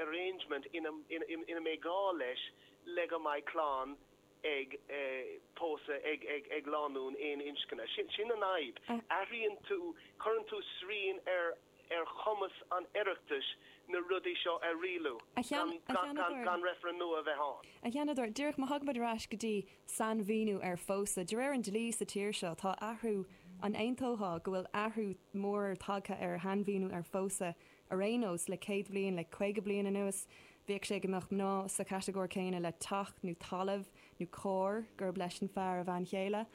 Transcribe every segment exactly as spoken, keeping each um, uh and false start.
arrangement ina ina mbeidh gá leis le go mbeidh clann ag pósadh ag ag ag lánúin aon inscne. Sin sin an fhadhb. Athraíonn tú, cuireann tú srian ar ar chumas an Oireachtais na rudaí seo a rialú gan gan gan reifreann nua a bheith ann. A Sheanadóir, díreach má thagann muid ar ais go dtí sainmhíniú ar phósadh, de réir an dlí sa tír seo, tá athrú, an aontófá go bhfuil athrú mór tagtha ar shainmhíniú ar phósadh ar aon nós le céad bliain, le caoga bliain anuas? Bhíodh sé go mbeadh mná sa chatagóir céanna le teach nó talamh nó carr gurb leis an fear a bhean chéile.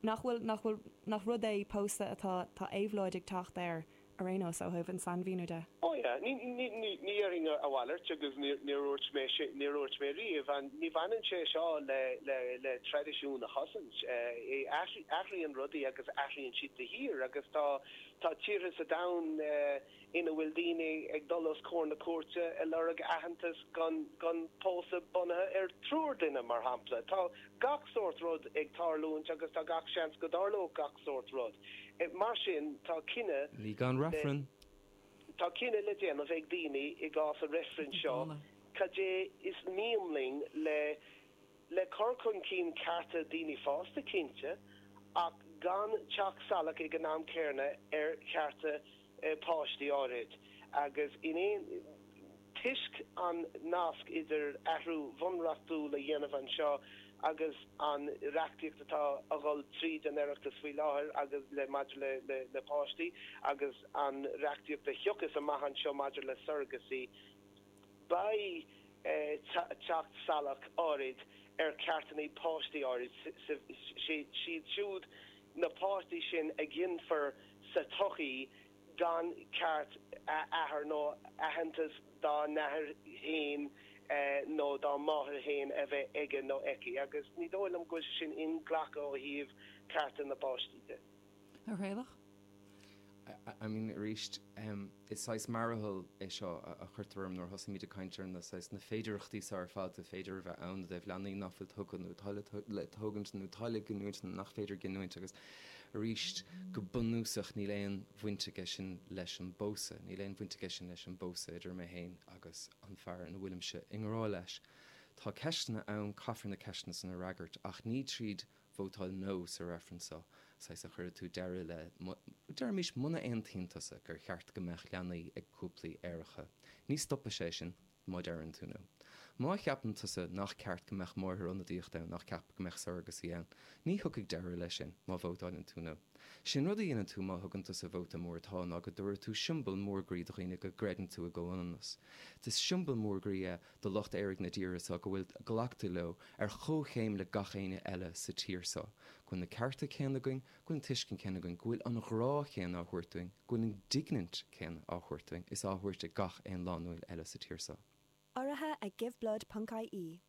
Nach bhfuil, nach bhfuil, nach rud é pósadh atá, tá éabhlóid ag teacht air ar aon nós ó thaobh an sainmhíniú de? Ó yeah, ní, ní, ní, ní dhéarfainn a mhalairt agus níor, níor dhúirt mé sin, níor dhúirt mé riamh. An, ní bhaineann sé seo le, le, le traidisiún a chosaint. Athraíonn rudaí agus athraíonn siad de shíor agus tá, tá tíortha sa domhan ina bhfuil daoine ag dul os comhair na cúirte ag lorg aitheantas don pósadh bunaithe ar triúr duine, mar shampla. Tá gach sórt rud ag tarlúint agus tá gach seans go dtarlódh gach sórt rud. Mar sin, tá cinneadh Ní gan reifreann. Tá cinneadh le déanamh ag daoine i gcás an reifrinn seo, cad é is mian linn le le cur chun cinn cearta daoine fásta, cinnte, ach gan teacht salach ag an am céanna ar chearta páistí áirid. Agus in aon toisc an nasc idir athrú bhunreachtúil a dhéanamh anseo agus an reachtaíocht atá a dhul tríd an Oireachtas faoi láthair agus le maidir le le le páistí agus an reachtaíocht a thiocfas amach anseo maidir le surrogacy, beidh teacht salach áirid ar cheartanna páistí áirid, siad siúd na páistí sin a ghinfear sa tsochaí gan ceart athar nó aitheantas dá n-athair féin nó dá máthair féin a bheith aige nó aici, agus ní dóigh liom go bhfuil sé sin inghlactha ó thaobh cearta na bpáistí de. A Thraolach? I mean, arís, is saghas mearathal é seo a chuirtear orm nuair a thosaímid ag caint ar na saghas na féidearthachtaí seo ar fad a féidir a bheith ann i dtaobh leanaí nach bhfuil tugtha nó atá le tógaint nó atá le giniúint nó nach féidir giniúint agus arís, go bunúsach níl aon bhaint aige sin leis an bpósadh, níl aon bhaint aige sin leis an bpósadh idir mé féin agus an fear ina bhfuilimse i ngrá leis. Tá ceisteanna ann, caithfear na ceisteanna san a fhreagairt ach ní tríd vótáil 'No' sa reifreann seo, saghas a chuirfidh tú deireadh le, deirimis, muna aontaíonn tusa gur cheart go mbeadh leanaí ag cúplaí aeracha, ní stopfaidh sé sin má deireann tú 'No'. Má cheapann tusa nach ceart go mbeadh máthair-ionadaíocht ann, nach ceart go mbeadh surrogacy ann, ní thiocfaidh deireadh leis sin má vótáileann tú 'No'. Sé'n rud a dhéanann tú má thugann tusa vóta mór 'Tá' ná go dtabharfaidh tú siombail mór groí do dhaoine go gcreideann tú i gcomhionannas. Is siombail mór groí é do lucht aeraigh na tíre seo go bhfuil glactha leo ar chomhchéim le gach éinne eile sa tír seo, go bhfuil na cearta céanna againn, go bhfuil an tuiscint céanna againn, go bhfuil an grá chéanna á thabhairt dúinn, go bhfuil an dínit céanna á thabhairt dúinn is á thabhairt ag gach aon lánúin eile sa tír seo. Urraithe ag Giveblood ponc ie.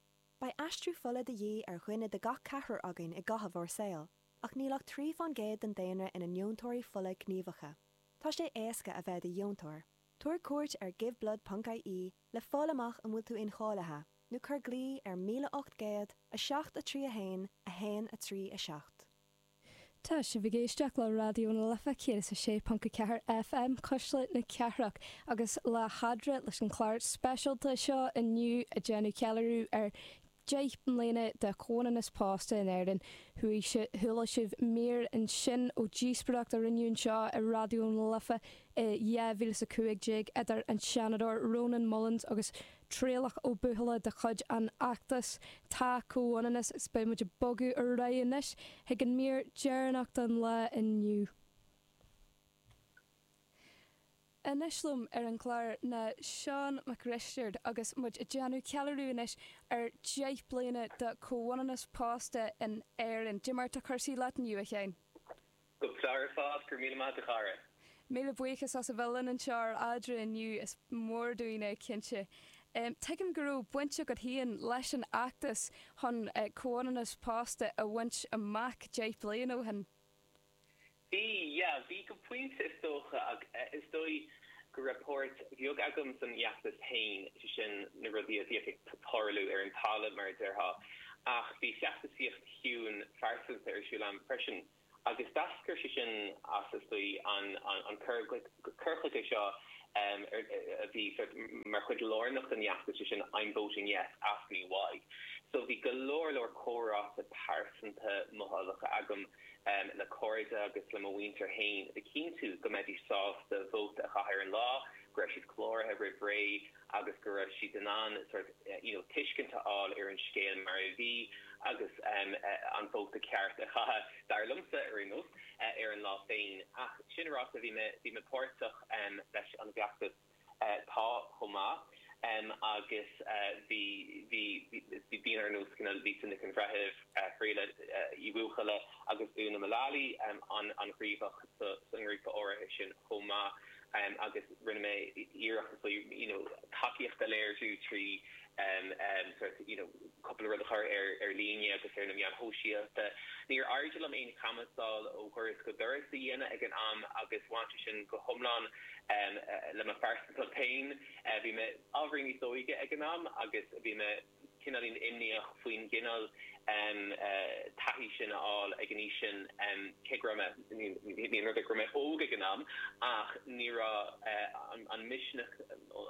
Beidh aistriú fola de dhíth ar dhuine de gach ceathrar againn i gcaitheamh ár saoil, ach níl ach trí fán gcéad den daonra ina ndeontóirí fola gníomhacha. Tá sé éasca a bheith i do dheontóir. Tabhair cuairt ar giveblood ponc ie le fáil amach an bhfuil tú incháilithe, nó cuir glao ar míle ocht gcéad, a seacht a trí a haon, a haon a trí a seacht. Tá sibh ag éisteacht le Raidió na Life céad is a sé ponc a ceathair F M, Cuisle na Cathrach, agus le hEadra leis an chlár speisialta seo inniu ag déanamh ceiliúradh ar deich mbliana de chomhionannas pósta in Éirinn. Chuaigh chuala sibh mír ansin ó dhíospóireacht a rinneadh anseo i Raidió na Life i dhá mhíle is a cúig déag idir an Seanadóir Rónán Mullins agus Traolach Ó Buachalla de chuid an fheachtais Tá Comhionannas agus beidh muid ag bogadh ar aghaidh anois chuig an mír deireanach don lá inniu. Anois liom ar an gclár ná Seán Mac Risteaird agus muid ag déanamh ceiliúradh anois ar deich bliana de chomhionannas pósta in Éirinn. Cad é mar tá cúrsaí leat inniu, a Sheáin? Go breá ar fad, go raibh míle maith agat a chara. Míle buíochas as a bheith linn anseo ar Eadra inniu, is mór dúinn é cinnte. Tuigim go raibh baint agat féin leis an fheachtas chun comhionannas pósta a bhaint amach deich bliain ó shin. Bhí, yeah, bhí go pointe is dócha ach is dóigh go raibh páirt bheag agam san fheachtas féin, sé sin na rudaí a bhíodh ag tarlú ar an talamh mar a déarfá, ach bhí feachtasaíocht chiúin phearsanta ar siúl agam freisin agus d'eascair sé sin as is dóigh an an cur chuige seo a bhí mar chuid lárnach den fheachtas sin I'm voting yes, ask me why. So bhí go leor leor comhráite pearsanta mothálacha agam um, le cairde agus le mo mhuintir féin le cinntiú go mbeidís sásta vóta a chaitheamh ar an lá, go raibh siad cláraithe roimh ré agus go raibh siad in ann sort you know, tuiscint a fháil ar an scéal mar a bhí agus um, an vóta ceart a chaitheamh dar liomsa ar aon nós uh, ar an lá féin. Ach sin ráite bhí mé bhí mé páirteach um, leis an bhfeachtas uh, tá chomh maith. Um, agus uh, bhí bhí bhí daoine ar nós cineál Lisa Nic an Bhreithimh Críola Uí Bhuachalla agus Úna Mullally um, an an ghníomhach sa sa ngrúpa áirithe sin chomh maith um, agus rinne mé iarracht so you know, tacaíocht a léiriú trí um, um, sort you know, cúpla rud a chur ar ar líne agus ar na meáin shóisialta. Níor éirigh liom aon chanbhasáil ó dhoras go doras a dhéanamh ag an am agus bhain sé sin go hiomlán um, le mo phearsantacht féin uh, bhí mé ábhairín níos óige ag an am agus bhí mé cineáilín imníoch faoin gcineál um, uh, taithí sin a fháil ag an aois sin um, cé go raibh mé ní rud go raibh mé óg ag an am ach ní raibh uh, an, an misneach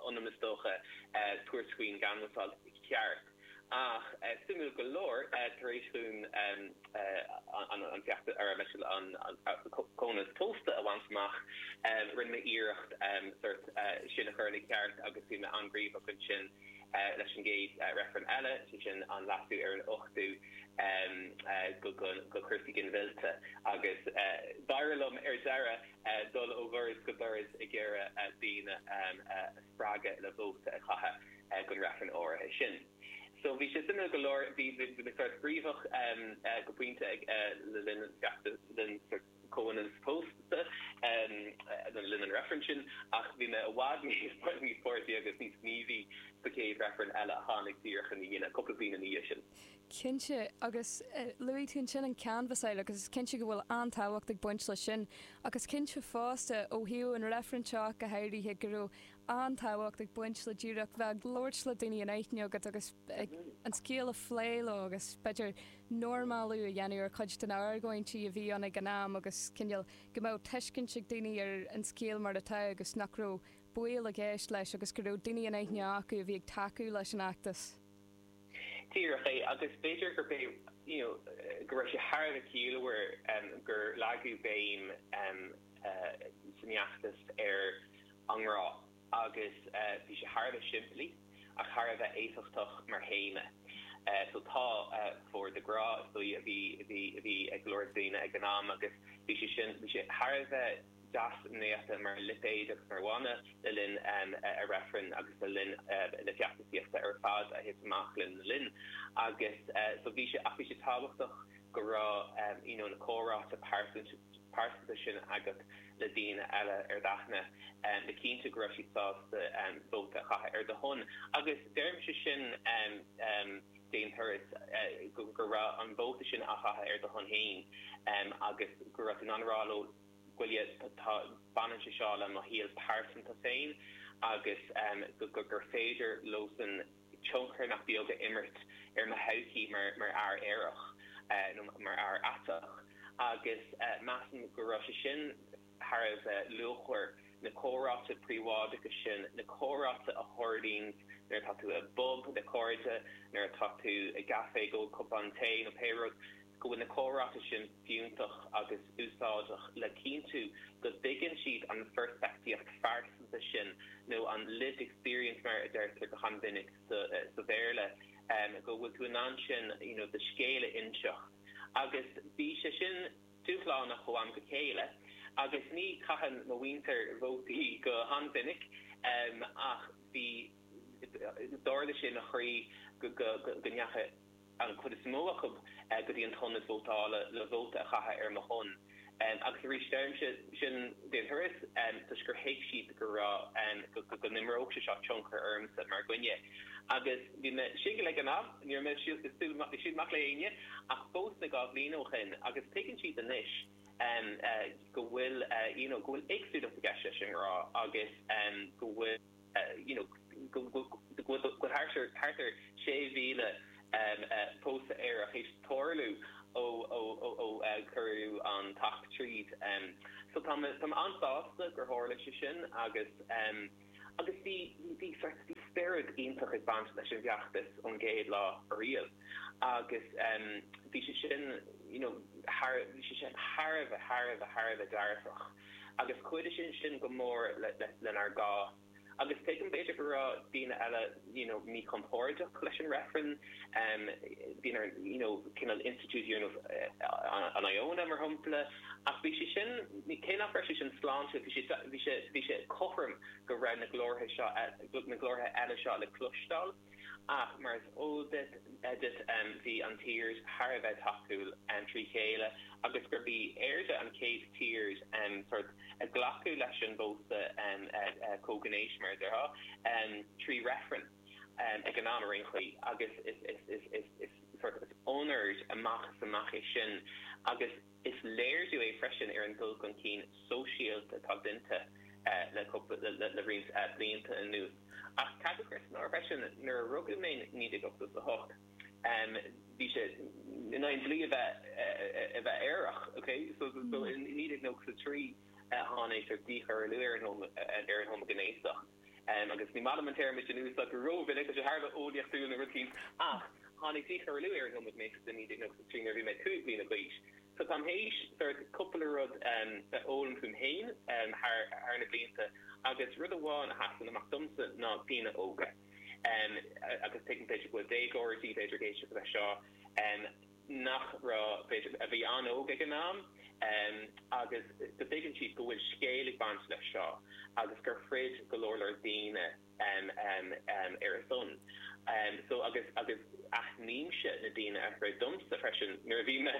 ionam is dócha uh, tabhairt faoin gcanbhasáil ceart. Ach uh, suimiúil go leor uh, tar éis dúinn um, uh, an, an feachtas ar leis an, an, an comhionannas pósta a bhaint amach um, rinne mé iarracht um, sort, uh, sin a chur ina ceart agus bhí mé an-ghníomhach ansin uh, leis an gcéad uh, reifreann eile, sé sin an leasú ar an ochtú um, uh, go, go, go cúrsaí ginmhillte agus uh, d'éirigh liom ar deireadh uh, dul ó dhoras go doras ag iarraidh uh, daoine um, uh, spreagadh le vóta a chaitheamh uh, don reifreann áirithe sin. So bhí sé suimiúil go leor bhí bhí mé sort gníomhach um, uh, go pointe ag uh, le linn feachtas linn sort comhionannas pósta um, uh, le linn an reifreann sin ach bhí mé i bhfad níos níos páirtí agus níos gníomhaí sa chéad reifreann eile a tháinig díreach ina dhiaidh cúpla bliain ina dhiaidh sin. Cinnte agus uh, luaigh tú sin an canbhasáil agus is cinnte go bhfuil an-tábhacht ag baint leis sin agus cinnte fosta ó thaobh an reifreann seo go háirithe go raibh an-tábhacht ag baint le díreach bheith ag labhairt le daoine in aithne agat agus ag an scéal a phlé leo agus b'fhéidir normalú a dhéanamh ar chuid den argóintí a bhí ann ag an am agus cineál go mbeadh tuiscint ag daoine ar an scéal mar atá agus nach raibh baol i gceist leis agus go raibh daoine in aithne acu a bhí ag tacú leis an fheachtas. Díreach é agus b'fhéidir gur bé you know, go raibh sé thar a bheith ciallmhar um, gur leagadh béim um, uh, san fheachtas ar an ngrá agus uh, bhí sé thar a bheith simplí ach thar a bheith éifeachtach mar théama. Uh, so tá uh, for the grá so a bhí a bhí a bhí ag go leor daoine ag an am agus bhí sé sin bhí sé thar a bheith deas néata mar lipéad agus mar mhana le linn um, a reifreann agus le linn uh, na feachtasaíochta ar fad a thit amach linn linn agus uh, so bhí sé ach bhí sé tábhachtach go raibh um, you know, na comhráite pearsanta sin agat le daoine eile ar d'aithne um, le cinntiú go raibh siad sásta um, vóta a chaitheamh ar do shon agus deirimse sin um, um, d'aon turas uh, go, go raibh an vóta sin á chaitheamh ar do shon féin um, agus go raibh an rá leo bhfuil tá baineann sé seo le mo shaol pearsanta féin agus um, go, go, gur féidir leosan tionchar nach beag a imirt ar mo thodhchaí mar mar fhear aerach uh, nó mar fhear aiteach agus uh, measaim go raibh sé sin thar a bheith luachmhar na comhráite príobháideacha sin na comhráite a tharlaíonn nuair atá tú i bpub le cairde nuair atá tú i gcaife ag ól cupán tae nó pé rud go bhfuil na comhráite sin fiúntach agus úsáideach le cinntiú go dtuigeann siad an pheirspictíocht phearsanta sin nó an lived experience mar a deirtear go han-mhinic sa, sa Bhéarla um, go bhfuil tú in ann sin you know, do scéal a inseacht. Agus bhí sé sin dúshlánach ó am go chéile, agus ní chaitheann mo mhuintir vótaí go han-mhinic um, ach bhí d'ardaigh sé mo chroí go, go, go, go ndeachaigh an chuid is mó acu uh, go dtí an t-ionad vótála le vóta a chaitheamh ar mo shon. Um, agus arís deirimse sin d'aon turas um, toisc gur thuig siad go raibh um, go, go, go n-imreodh sé seo tionchar ormsa mar dhuine. Agus bhí mé singil ag an am, ní raibh mé ag siúl amach le éinne ach phós mé dhá bhliain ó shin agus tuigeann siad anois um, uh, go bhfuil uh, you know, go bhfuil éagsúlacht i gceist leis an ngrá agus um, go bhfuil uh, you know, go go go go thart ar thart ar sé mhíle um, uh, pósadh aerach théis tarlú ó ó ó ó uh, cuireadh an t-acht tríd. Um, so tá mé tá mé an-sásta gur tharla sé sin agus um, Agus bhí bhí sort bhí spiorad iontach ag baint leis an bhfeachtas ón gcéad lá ariamh agus um, bhí sé sin you know, thar bhí sé sin thar a bheith thar a bheith thar a bheith dearfach. Agus chuidigh sin sin go mór le, le, lenár gcás. Agus tuigim b'fhéidir go raibh daoine eile you know, míchompordach leis an reifreann, um, daoine ar you know, cineál institiúidí ar nós uh, an Iona mar shampla, ach bhí sé sin cé nach raibh sé sin sláintiúil, bhí sé bhí sé bhí sé cothrom go raibh na glórtha seo na glórtha eile seo le cloisteáil. Ach mar is eol duit duit um, bhí an tír thar a bheith tacúil um, trí chéile agus gurb í Éire an chéad tír um, sort a glacadh leis an bpósadh um, uh, uh, comhghnéis mar a déarfá um, trí reifreann um, ag an am ar aon chaoi agus is, is, is, is, is, sort is onóir amach is amach é sin agus is léiriú é freisin ar an dul chun cinn sóisialta atá déanta uh, le, le, le, le roinnt uh, blianta anuas. Ach caithfidh cur san áireamh freisin nuair a rugadh mé naoi déag ochtó a hocht um, bhí sé in aghaidh an dlí a bheith a bheith aerach, okay? So, so, so in naoi déag nócha a trí tháinig sort díchoiriúlú ar an ar an homaighnéasacht. Um, agus ní maith liom an téarma sin a úsáid go rómhinic sé thar a bheith eolaíochtúil nó rud éigin ach tháinig díchoiriúlú ar an homaighnéasacht in naoi déag nócha a trí nuair a bhí mé cúig bliana d'aois. So táim théis sort cúpla rud um, a fhoghlaim fúm féin um, thar, thar na blianta agus rud amháin a sheasann amach domsa ná daoine óga. Um, agus tuigim b'fhéidir go bhfuil déagóirí b'fhéidir ag éisteacht leis seo um, nach raibh b'fhéidir a bhí an-óg ag an am um, agus go dtuigeann siad go bhfuil scéal ag baint leis seo agus gur throid go leor leor daoine um, um, um, ar a son. Um, so agus agus aithnímse na daoine a throid domsa freisin nuair a bhí mé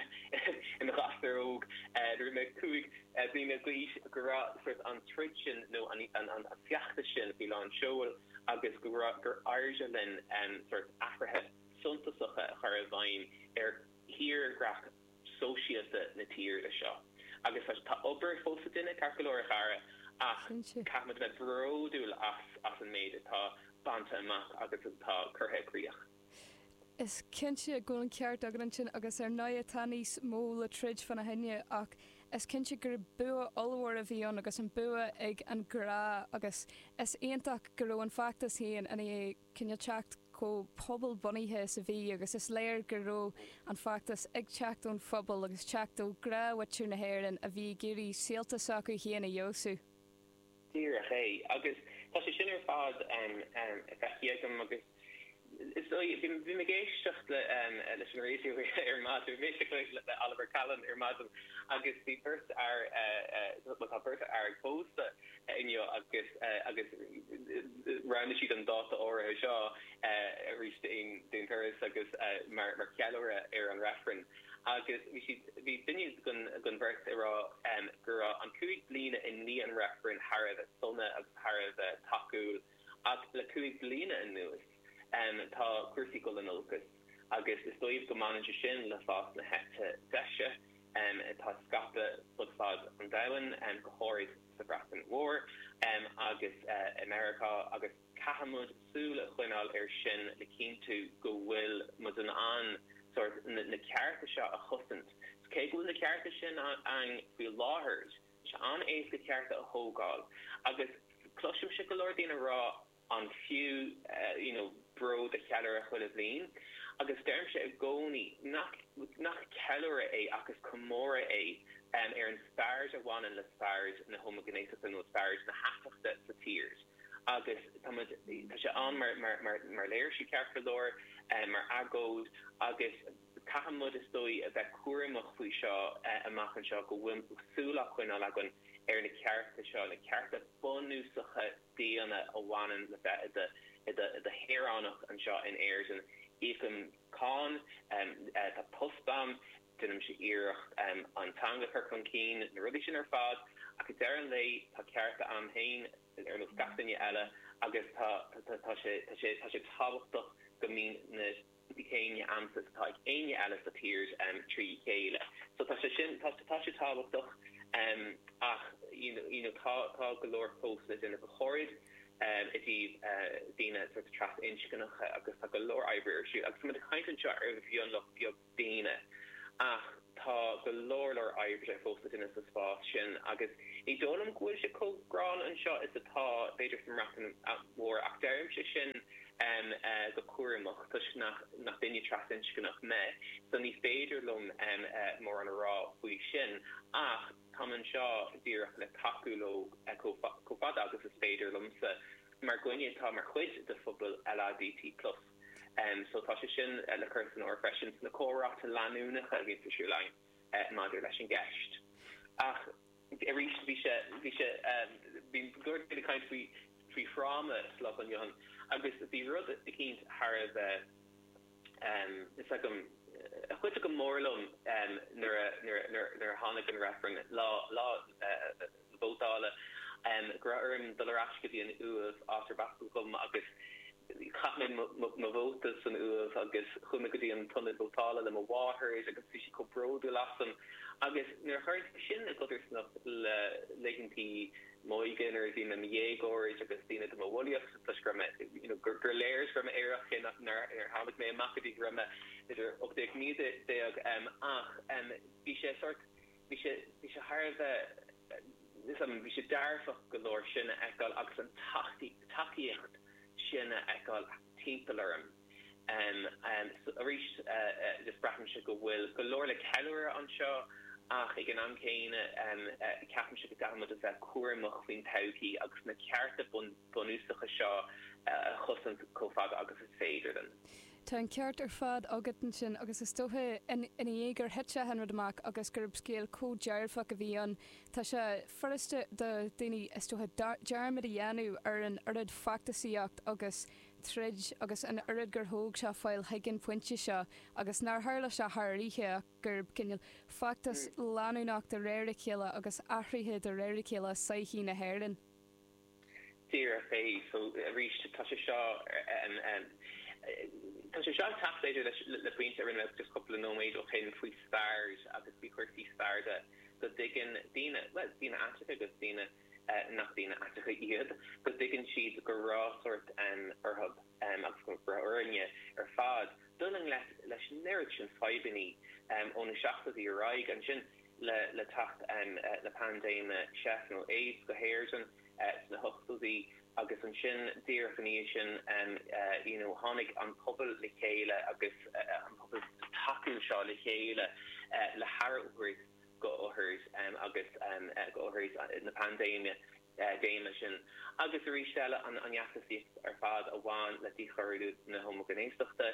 i mo ghasúr óg uh, nuair a bhí mé cúig uh, bliana d'aois go raibh sort an troid sin nó an, an, an, an feachtas sin faoi lán seoil agus go raibh gur éirigh linn um, sort athruithe suntasacha a chur i bhfeidhm ar thírdhreach sóisialta na tíre seo. Agus tá obair fós le déanamh ceart go leor a chara ach caithfimid bheith bródúil as as an méid atá bainte amach agus atá curtha i gcrích. Is cinnte go bhfuil an ceart agat ansin agus ar ndóigh tá níos mó le troid fána choinne ach is cinnte gur bua ollmhór a bhí ann agus an bua ag an grá agus is iontach go raibh an feachtas féin ina cineál teacht chomh pobalbhunaithe is a bhí agus is léir go raibh an feachtas ag teacht ón phobal agus teacht ó ghnáthmhuintir na hÉireann a bhí ag iarraidh saolta s'acu féin a fheabhsú. Díreach é agus tá sé sin ar fad feicthe agam agus is dóigh bhí bhí mé ag éisteacht le leis an raidió ar maidin, bhí mé ag éisteacht le Oliver Callan ar maidin agus bhí beirt fhear well tá beirt fhear ag pósadh inniu agus agus roghnaigh siad an dáta áirithe seo arís d'aon d'aon turas agus mar mar cheiliúradh ar an reifreann agus bhí siad bhí duine den den bheirt ag rá go raibh an cúig bliana i ndiaidh an reifrinn thar a bheith sona agus thar a bheith tacúil ach le cúig bliana anuas tá cúrsaí ag dul in olcas agus is dóigh go mbaineann sé sin le fás na heite deise atá ag scaipeadh fud fad an domhain, go háirid sa Bhreatain Mhór agus i Meiriceá agus caithfidh muid súil a choinneáil air sin le cinntiú go bhfuil muid in ann sórt na cearta seo a chosaint. Cé go bhfuil na cearta sin ann faoi láthair, tá sé an-éasca cearta a thógáil agus cloisimse go leor daoine ag rá an fiú you know bród a cheiliúradh chuile bhliain agus deirimse i gcónaí nach nach ceiliúradh é ach is comóradh é ar an spiorad a bhaineann le spiorad na homaighnéasachta nó spiorad na haiteachta sa tír agus tá muid tá sé ann mar mar mar mar léirsiú ceart go leor mar agóid agus caithfidh muid is dóigh a bheith cúramach faoi seo amach anseo go bhfuil súil á coinneáil againn ar na cearta seo, na cearta bunúsacha daonna a bhaineann le bheith i do shaoránach anseo in Éirinn. Íocaim cáin, tá post agam, déanaimse iarracht an teanga a chur chun cinn, na rudaí sin ar fad, ach ag deireadh an lae tá cearta agam féin ar nós gach duine eile agus tá sé tábhachtach go mbíonn na. céanna agamsa is atá ag éinne eile sa tír trí chéile. So tá sé sin, tá tá sé tábhachtach ach you know you know tá tá go leor fós le déanamh go háirid i dtaobh daoine sort of trasinscneacha agus tá go leor oibre ar siúl agus tá muid ag caint anseo ar mhionlach beag daoine ach tá go leor leor oibre fós le déanamh sa spás sin agus ní dóigh liom go bhfuil sé chomh gránna anseo is atá b'fhéidir sa mBreatain Mhór ach deirimse sin um, uh, go cúramach toisc nach nach duine trasinscneach mé so ní féidir liom um, uh, mórán a rá faoi sin ach táim anseo díreach le tacú leo uh, chomh fada agus is féidir liomsa mar dhuine atá mar chuid de phobal LADT plus. Um, so tá sé sin uh, le cur san áireamh freisin sna comhráite leanúnacha a bhíonn ar siúl againn uh, maidir leis an gceist. Ach arís bhí sé bhí sé um, bhí go leor caint faoi faoi thráma sa lá inniu ann agus bhí rud eicínt thar a bheith um, is agam a chuidigh go mór liom um, nuair a nuair nuair nuair a tháinig an reifreann lá lá uh, vótála um, go raibh orm dul ar ais go dtí an Uaimh áit arb as dom agus chaith mé mo vóta san Uaimh agus chuaigh mé go dtí an t-ionad vótála le mo mháthair agus bhí sí chomh bródúil asam agus nuair a chuir sin i gcodarsnacht le laethantaí m'óige nuair a bhí mé i mo dhéagóir agus daoine do mo bhulaíocht toisc go raibh mé you know, gur gur léir go raibh mé aerach cé nach nuair ar tháinig mé amach go dtí go raibh mé idir ocht déag naoi déag um, ach um, bhí sé sort bhí sé bhí sé thar a bheith um, bhí sé dearfach go leor sin a fheiceáil agus an tacaíocht sin a fheiceáil timpeall orm. Um, um, so arís uh, uh, just braithimse go bhfuil go leor le ceiliúradh anseo ach ag an am céanna um, uh, ceapaimse go gcaithfimid a bheith cúramach faoin todhchaí agus na cearta bun, bunúsacha seo uh, a chosaint chomh fada agus is féidir linn. Tá an ceart ar fad agat ansin agus is dócha ina dhiaidh gur thit an rud amach agus gurb scéal chomh dearfach a bhí ann. Tá sé furasta do daoine is dócha dearmad a dhéanamh ar an oiread feachtasaíocht agus troid agus an oiread gur thóg sé fáil chuig an pointe seo agus nár tharla sé thar oíche ach gurb cineál feachtas leanúnach de réir a chéile agus athruithe de réir a chéile sochaí na hÉireann. Díreach é so arís tá sé seo um, um, Tá sé seo teacht b'fhéidir le le pointe a rinne mé just cúpla nóiméad ó shin faoi stair agus faoi chúrsaí staire go dtuigeann daoine well daoine aiteacha agus daoine uh, nach daoine aiteacha iad go dtuigeann siad go raibh sort um, orthu um, agus go raibh orainne ar fad dul i ngleic leis an oiread sin fadhbanna um, ó na seachtóidí ar aghaidh ansin le le teacht um, uh, le paindéime seif nó AIDS go hÉirinn uh, sna hochtóidí agus ansin díreach ina dhiaidh sin um, uh, you know, tháinig an pobal le chéile agus uh, an pobal tacúil seo le chéile uh, le haire a thabhairt go othair um, agus um, uh, go othair uh, na paindéime uh, déime sin. Agus arís eile an an fheachtasaíocht ar fad a bhain le díchoiriú na homaighnéasachta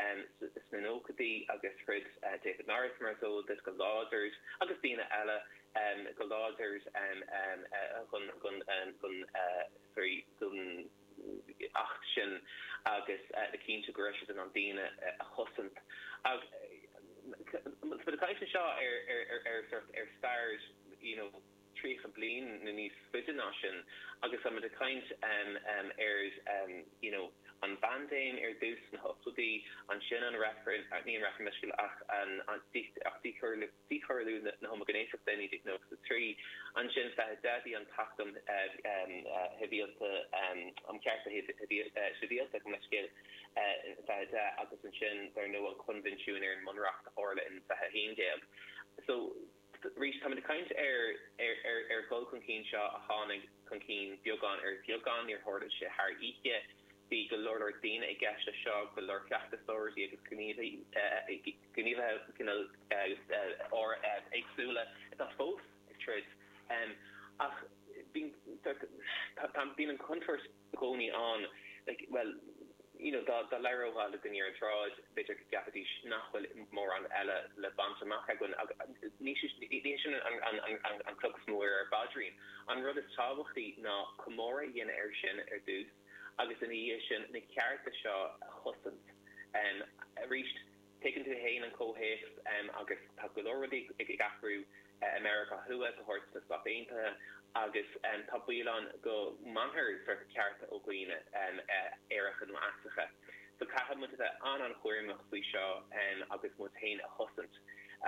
um, sna nóchaidí agus throid uh, David Norris mar is eol duit go láidir agus daoine eile um, go láidir um, um, uh, chun chun um, chun uh, sorry, chun acht sin agus uh, le cinntiú go raibh siad in ann daoine uh, a chosaint. Ag uh, caint seo ar ar ar ar sort ar stair you know, tríocha bliain nó níos faide ná sin agus tá muid ag caint um, um, ar um, you know, an bpaindéim ar dtús sna hochtóidí ansin an reifreann ní an reifreann meisciúil ach an an ach díchoiriú na homaighnéasachta naoi déag nócha trí ansin fiche deich bhí an tAcht um Shibhialta um Chearta Sibhialta gabh mo leithscéal fiche deich agus ansin dar ndóigh an Coinbhinsiún ar an mBunreacht a tharla in fiche haon déag. So arís tá muid ag caint ar ar ar ar dhul chun cinn seo a tháinig chun cinn beagán ar bheagán níor tharla sé thar oíche bhí go leor leor daoine i gceist leis seo go leor feachtasóirí agus gníomhaithe gníomhaithe éagsúla atá fós ag troid. Ach bíonn bíonn an chontúirt i gcónaí ann like well you know dá dá labhrófá le duine ar an tsráid b'fhéidir go gceapfaidís nach bhfuil mórán eile le baint amach againn agus ní ní sin an an an an an cloch is mó ar ár bpaidrín. An rud is tábhachtaí ná comóradh a dhéanamh air sin ar dtús agus ina dhiaidh sin na cearta seo a chosaint. Um, arís tuigeann tú féin an comhthéacs um, agus tá go leor rudaí ag ag athrú i Meiriceá Thuaidh, go háirithe sna Stáit Aontaithe agus um, tá baol ann go mbainfear sort cearta ó dhaoine um, aeracha nó aiteacha. So caithfidh muid a bheith an-an-chúramach faoi seo um, agus muid féin a chosaint.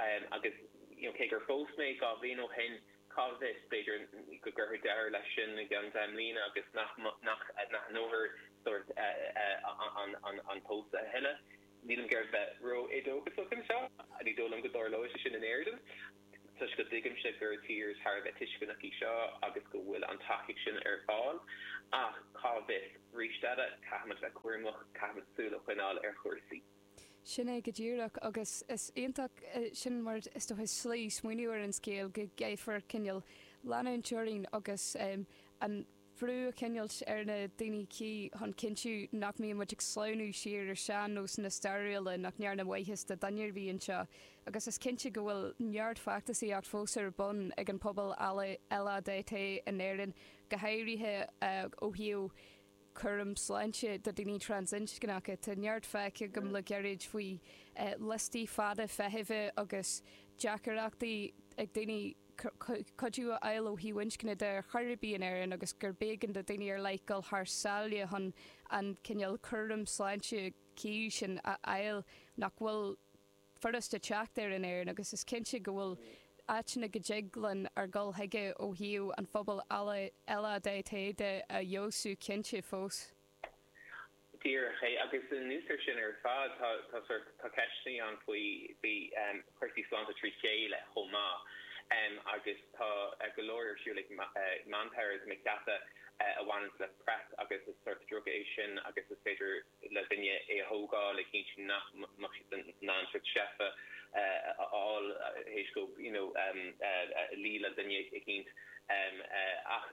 Um, agus you know, cé gur phós mé dhá bhliain ó shin, cá bhfios, b'fhéidir go gcuirfear deireadh leis sin i gceann deich mbliana agus nach nach nach n-aithneofar sort an an an pósadh a thuilleadh. Nílim ag iarraidh bheith ró-éadóchasach anseo, ní dóigh liom go dtarlóidh sé sin in Éirinn, toisc go dtuigimse gur tír thar a bheith tuisceanach í seo agus go bhfuil an tacaíocht sin ar fáil, ach cá bhfios? Arís eile, caithfimid bheith cúramach, caithfimid súil a choinneáil ar chúrsaí. Sin é go díreach, agus is iontach sin mar is dócha slí smaoineamh ar an scéal go gcaithfear cineál leanúint orainn agus an brú a choinneáilt ar na daoine cuí chun cinntiú nach mbíonn muid ag sleamhnú siar ar sean-nósanna stairiúla nach ndearna maitheas do dhuine ar bith anseo. Agus is cinnte go bhfuil neart feachtasaíocht fós ar bun ag an pobal LADT in Éirinn, go háirithe ó thaobh cúram sláinte do daoine trasinscneacha. Tá neart feicthe agam le gairid faoi liostaí fada feithimhe agus deacrachtaí ag daoine cuidiú a fháil ó thaobh inscne de ar chor ar bith in Éirinn agus gurb éigean do daoine ar leith dul thar sáile chun an cineál cúram sláinte cuí sin a fháil nach bhfuil furasta teacht air in Éirinn agus is cinnte go bhfuil áiteanna go dtig linn ár gcur chuige ó thaobh an phobal LADT de a fheabhsú cinnte fós. Díreach é, agus anuas air sin ar fad tá tá sórt tá ceisteanna ann faoi faoi chúrsaí sláinte trí chéile chomh maith agus tá go leor ar siúl ag Manpower tá mé ag ceapadh a bhaineanns le PrEP agus is sórt druga é sin agus is féidir le duine é a thógáil le cinntiú nach mbeadh siad in ann sórt seifeadh a fháil théis dóibh you know luí le duine eicínt ach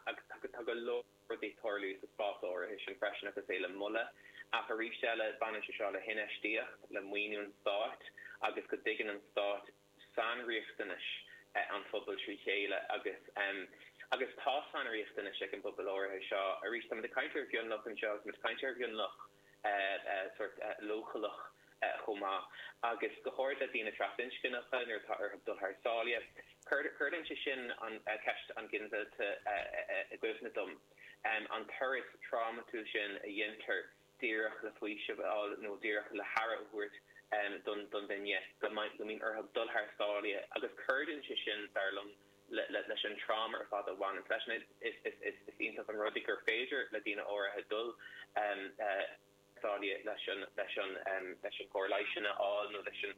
tá go leor rudaí ag tarlú sa spás áirithe sin freisin agus é le moladh ach arís eile baineann sé seo le hinfheistíocht, le maoiniú an stáit agus go dtuigeann an stát sainriachtanais an phobail trí chéile agus agus tá sainriachtanais ag an bpobal áirithe seo. Arís, táimid ag caint ar mhionlach anseo agus táimid ag caint ar mhionlach sórt leochaileach chomh maith agus go háirid le daoine trasinscneacha nuair atá orthu dul thar sáile. Cuireann sé sin an ceist an ghinmhillte i gcuimhne dom, an turas trámatúil sin a dheintear díreach le faoiseamh a fháil nó díreach le haire a thabhairt don duine go mbíonn orthu dul thar sáile agus cuireann sé sin, dar liom, leis an tráma ar fad a bhaineann leis. Is iontach an rud é gur féidir le daoine áirithe dul thar sáile leis an leis an leis an gcóir leighis sin a fháil nó leis an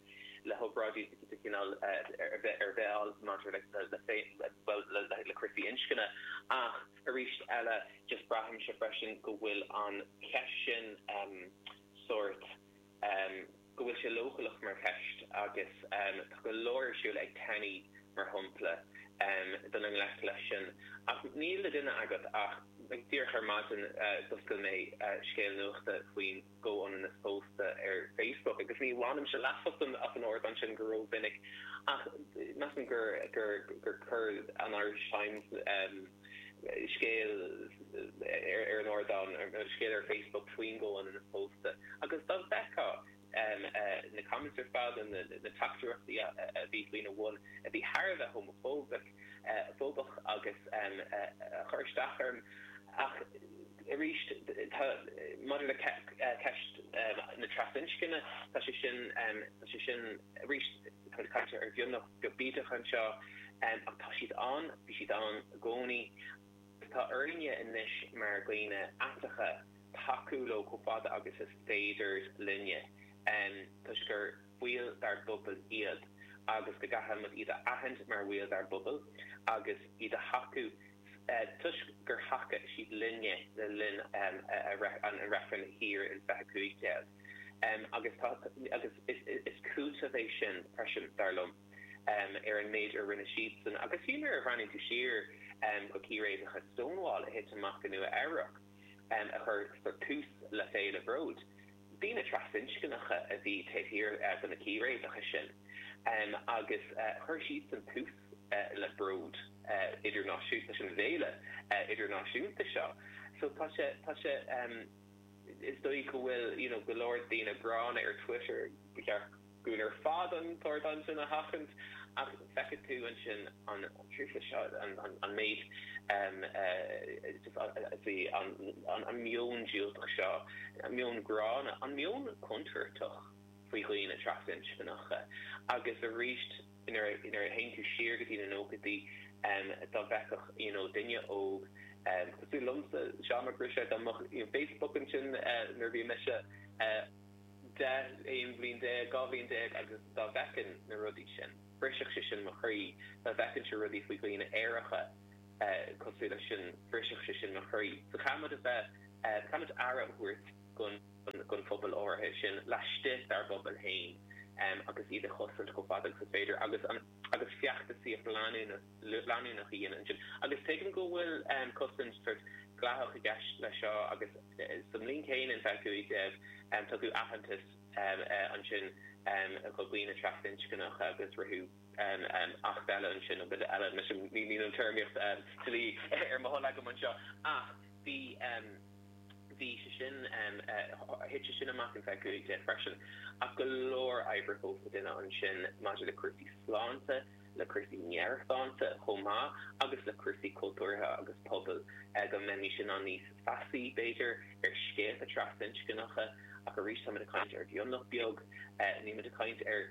le hobráidí de chineál ar bith ar bith a fháil maidir le bhuel le cúrsaí inscne ach arís eile just braithimse freisin go bhfuil an cheist sin sórt go bhfuil sé leochaileach mar cheist agus tá go leor ar siúl ag TENI mar shampla dul i ngleic leis sin. Ach níl a duine agat ach díreach ar maidin d'oscail mé scéal nuachta faoin gcomhionannas pósta ar Facebook agus ní bhainimse leas as an as an ardán sin go rómhinic ach measaim gur gur gur chuir an Irish Times scéal ar an ardán, scéal ar Facebook faoin gcomhionannas pósta agus dá bhfeicfeá na comments ar fad, na teachtaireachtaí a bhí faoina bhun, a bhí thar a bheith homafóbach fóbach agus a chuir isteach orm. Ach arís, tá, maidir le ceist na trasinscne, tá sé sin, tá sé sin, arís, táimid ag caint ar mhionlach beag bídeach anseo, ach tá siad ann, bhí siad ann i gcónaí. Tá orainne anois mar dhaoine aiteacha tacú leo chomh fada agus is féidir linne, toisc gur baill dár bpobal iad agus go gcaithfidh muid iad a aithint mar bhaill dár bpobal agus iad a thacú toisc gur thacaigh siad linne le linn an reifrinn thiar in fiche cúig déag. Agus tá agus is cúiteamh é sin freisin, dar liom. ar an méid a rinne siadsan. Agus fiú nuair a bhreathnaíonn tú siar go círéibeacha Stonewall a thit amach i Nua Eabhrac, a chuir tús le Féile Bród, daoine trasinscneacha a bhí taobh thiar de na círéibeacha sin agus chuir siadsan tús le Bród idirnáisiúnta, leis an bhféile idirnáisiúnta seo. So tá sé, tá sé, is dóigh go bhfuil you know go leor daoine gránna ar Twitter, ba cheart dúinn ar fad an t-ardán sin a sheachaint ach feicfidh tú ansin an truailliú seo, an méid an meon diúltach seo, an meon gránna, an meon contúirteach faoi dhaoine trasinscneacha agus arís nuair a théann tú siar go dtí na nóchaidí dá bhfeicfeadh you know duine óg cosúil liomsa, Seán Mac Ruiséid, dá mbeadh Facebook ansin nuair a bhí mise. deich, aon bhliain déag, dhá bhliain déag agus dá bhfeicfinn na rudaí sin, bhrisfeadh sé sin mo chroí, dá bhfeicfinnse rudaí faoi dhaoine aeracha cosúil leis sin, bhrisfeadh sé sin mo chroí. So caithfidh muid a bheith, caithfidh muid aire a thabhairt don don phobal áirithe sin laistigh dár bpobal féin agus iad a chosaint chomh fada agus is féidir agus an agus feachtasaíocht leanúnach leanúnach a dhéanamh ansin. Agus tuigim go bhfuil cosaint sort dleathach i gceist leis seo agus sa mbliain chéanna in fiche cúig déag tugadh aitheantas ansin do dhaoine trasinscneacha agus ritheadh acht eile ansin nó bille eile, anois níl an téarmaíocht dlí ar mo thoil agam anseo ach bhí bhí sé sin thit sé sin amach in fiche cúig déag freisin ach go leor oibre fós le déanamh ansin maidir le cúrsaí sláinte, le cúrsaí meabhairshláinte chomh maith agus le cúrsaí cultúrtha agus pobail, go mbeimis in ann níos feasaí, b'fhéidir, ar scéalta trasinscneacha. Ach arís, táimid ag caint ar mhionlach beag, nílimid ag caint ar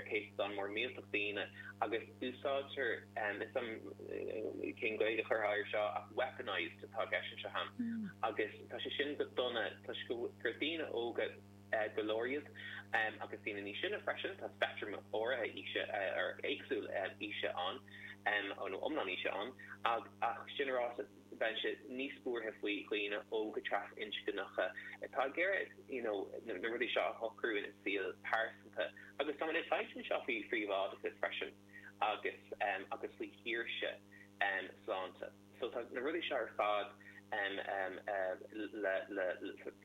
chéatadán mór millteach daoine, agus úsáidtear, níl 'fhios a'm cén Ghaeilge a chuirfeá air seo, ach weaponised atá i gceist anseo a'm. Agus tá sé sin go dona toisc gur daoine óga, go leor iad, agus daoine níos sine freisin, tá speictream áirithe aoise, éagsúil aoise ann, nó iomlán aoise ann, ach sin ráite, bheinnse níos buartha faoi dhaoine óga trasinscneacha atá ag iarraidh you know na rudaí seo a shocrú ina saol pearsanta. Agus táimid ag caint anseo faoi phríobháideachas freisin agus agus faoi shaoirse sláinte. So tá na rudaí seo ar fad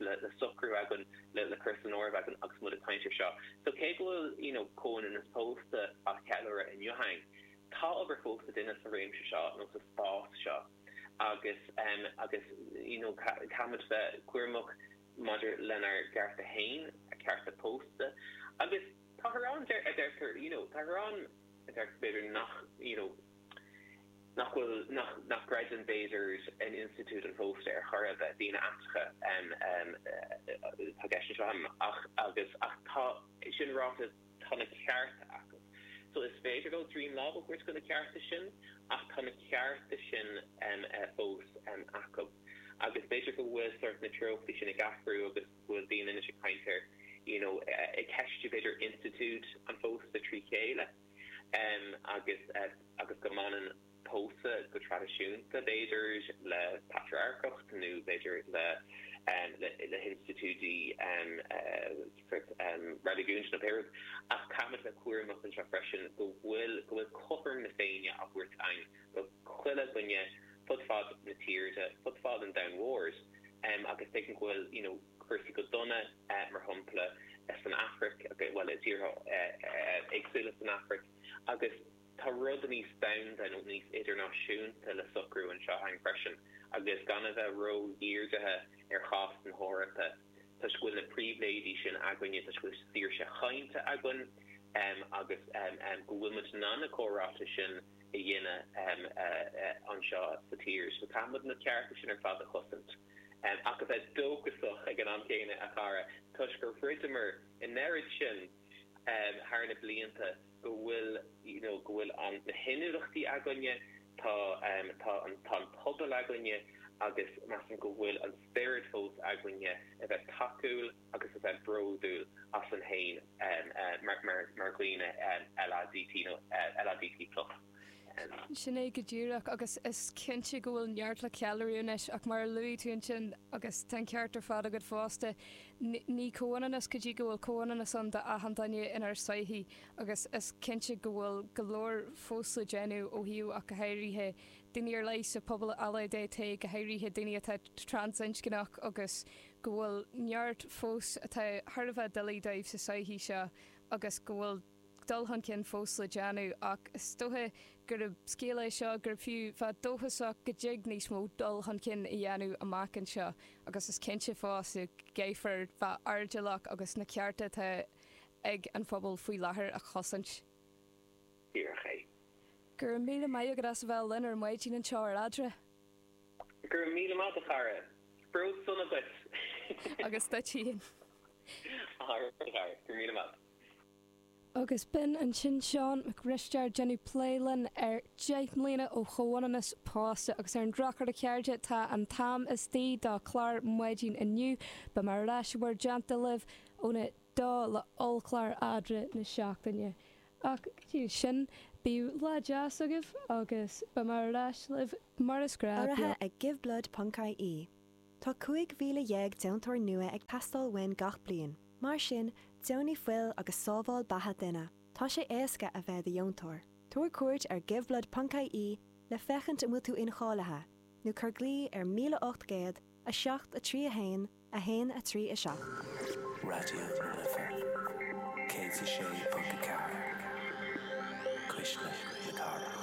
le socrú againn, le cur san áireamh againn agus muid ag caint ar seo. So cé go bhfuil you know comhionannas pósta á cheiliúradh inniu againn, tá obair fós le déanamh sa réimse seo nó sa spás seo agus agus you know caithfimid bheith cúramach maidir lenár gcearta féin, cearta pósta agus táthar ann a deirtear you know táthar ann a deirtear b'fhéidir nach you know nach bhfuil, nach, nach gcreideann b'fhéidir in institiúid an phósta ar chor ar bith, daoine aiteacha atá i gceist anseo agam, ach, agus, ach tá, sin ráite, tá na cearta acu. So is féidir leo droim láimhe a thabhairt do na cearta sin ach tá na cearta sin fós acu. Agus b'fhéidir go bhfuil sort na treochtaí sin ag athrú agus go bhfuil daoine anois ag caint ar, you know, ag ceistiú b'fhéidir institiúid an phósta trí chéile. agus agus go mbaineann pósadh go traidisiúnta, b'fhéidir, le patrarcacht nó b'fhéidir le le hinstitiúidí sort reiligiúnta nó pé rud. Ach caithfimid bheith cúramach anseo freisin go bhfuil go bhfuil cothrom na Féinne á thabhairt againn do chuile dhuine fud fad na tíre, fud fad an domhain mhóir agus tuigim go bhfuil you know cúrsaí go dona, mar shampla, san Afraic, bhuel, i dtíortha éagsúla san Afraic, agus tá rud níos domhanda nó níos idirnáisiúnta le socrú anseo againn freisin, agus gan a bheith ró-dhírithe ar chás na hEorpa, toisc go bhfuil na pribhléidí sin againne, toisc go bhfuil saoirse chainte againn, agus go bhfuil muid in ann na comhráite sin a dhéanamh anseo sa tír. So caithfidh muid na cearta sin ar fad a chosaint. Ach a bheith dóchasach ag an am céanna, a chara, toisc gur throideamar an oiread sin thar na blianta go bhfuil, you know, go bhfuil an, na hinniúlachtaí againne, tá, tá an, tá an pobal againne agus measaim go bhfuil an spiorad fós againne a bheith tacúil agus a bheith bródúil asainn féin mar, mar, mar dhaoine LADT nó LADT plus. Sin é go díreach, agus is cinnte go bhfuil neart le ceiliúradh anois, ach mar a luaigh tú ansin, agus tá an ceart ar fad agat fosta, ní comhionannas go dtí go bhfuil comhionannas ann d'achan duine inár sochaí, agus is cinnte go bhfuil go leor fós le déanamh ó thaobh ach go háirithe daoine ar leith sa phobal LADT, go háirithe daoine atá trasinscneach agus go bhfuil neart fós atá thar a bheith doiligh dóibh sa sochaí seo agus go bhfuil dul chun cinn fós le déanamh ach is dócha gurb scéal é seo gurb fiú bheith dóchasach go dtig níos mó dul chun cinn a dhéanamh amach anseo agus is cinnte fosta go gcaithfear bheith airdeallach agus na cearta atá ag an phobal faoi láthair a chosaint. Díreach é. Go raibh míle maith agat as a bheith linn ar maidin anseo ar Eadra. Go raibh míle maith, a chara. Bród sona duit. Agus duit féin. Alright, a chara. Go raibh míle maith. Agus b'in ansin Seán Mac Risteaird ag déanamh plé linn ar deich mbliana ó chomhionannas pósta agus ar an drochuair a chairde tá an t-am istigh dá chlár maidin inniu beidh mé ar ais bhur dteannta libh óna dó le ollchlár Eadra na seachtaine. Ach go dtí sin bíodh lá deas agaibh agus beidh mé ar ais libh mar is gnách. Urraithe ag giveblood.ie. Tá cúig mhíle dhéag deontóir nua ag teastáil uainn gach bliain. Mar sin, deonaigh fuil agus sábháil beatha duine. Tá sé éasca a bheith i do dheontóir. Tabhair cuairt ar giveblood.ie le féachaint an bhfuil tú incháilithe, nó cuir glao ar míle ocht gcéad, a seacht a trí a haon, a haon a trí a seacht. Raidió na Life céad a sé ponc a ceathair, Cuisle na Cathrach.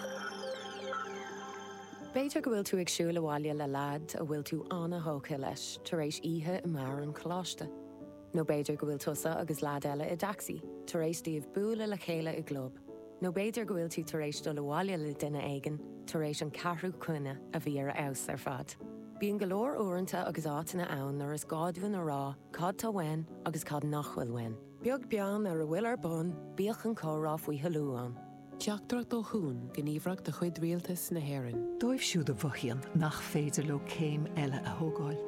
B'fhéidir go bhfuil tú ag siúl abhaile le leaid a bhfuil tú an-tógtha leis tar éis oíche i mbeár an choláiste. Nó b'fhéidir go bhfuil tusa agus leaid eile i dtacsaí, tar éis daoibh bualadh le chéile i gclub. Nó b'fhéidir go bhfuil tú tar éis dul abhaile le duine éigin tar éis an ceathrú coinne a bhí ar fheabhas ar fad. Bíonn go leor uaireanta agus áiteanna ann nuair is gá dúinn a rá cad tá uainn agus cad nach bhfuil uainn. Beag beann ar a bhfuil ar bun, bíodh an comhrá faoi thoiliú ann. Teachtaireacht ó Chuan, gníomhaireacht de chuid Rialtas na hÉireann. Dóibh siúd a mhothaíonn nach féidir leo céim eile a thógáil.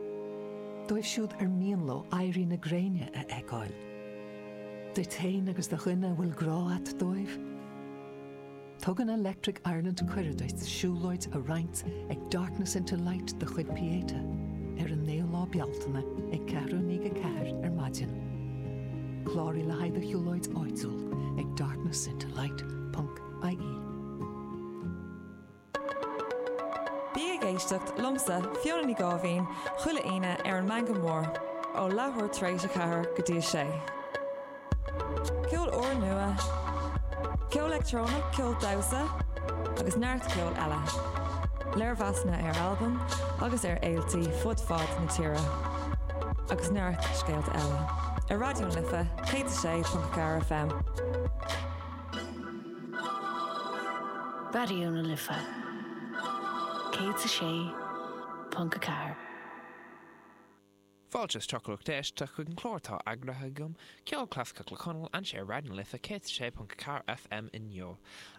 Dóibh siúd ar mian leo éirí na gréine a fheiceáil. Duit féin agus do dhuine a bhfuil grá agat dóibh. Tugann Electric Ireland cuireadh duit siúlóid a roinnt ag Darkness into Light de chuid Pieta ar an naoú lá Bealtaine ag ceathrú i ndiaidh a ceathair ar maidin. Cláraigh le haghaidh do shiúlóid áitiúil ag darknessintolight.ie. Bí ag éisteacht liomsa Fiona Ní Gáibhín chuile Aoine ar an Meangadh Mór ó leathuair tar éis a ceathair go dtí a sé. Ceol úrnua, ceol leictreonach, ceol damhsa agus neart ceol eile. Léirmheasanna ar albaim agus ar fhéiltí fud fad na tíre. Agus neart scéalta eile. Ar Raidió na Life céad a sé ponc ceathair FM. Raidió na Life céad a sé ponc a ceathair. Fáilte isteach a lucht éisteachta chuig an chlár atá eagraithe agam, Ceol Clasaiceach le Conall, anseo ar Raidió na Life céad a sé ponc a ceathair FM inniu.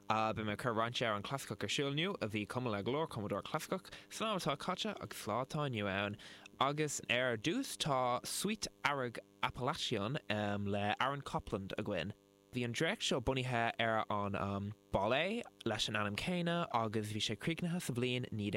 Beidh mé ag cur roinnt amhrán clasaiceach ar siúl inniu a bhí cumtha le go leor cumadóir clasaiceach san am atá caite agus sa lá atá inniu ann. Agus ar dtús tá Suite Earraigh Appalachian le Aaron Copland againn. Bhí an dréacht seo bunaithe ar an um, ballet leis an ainm céanna agus bhí sé críochnaithe sa bhliain naoi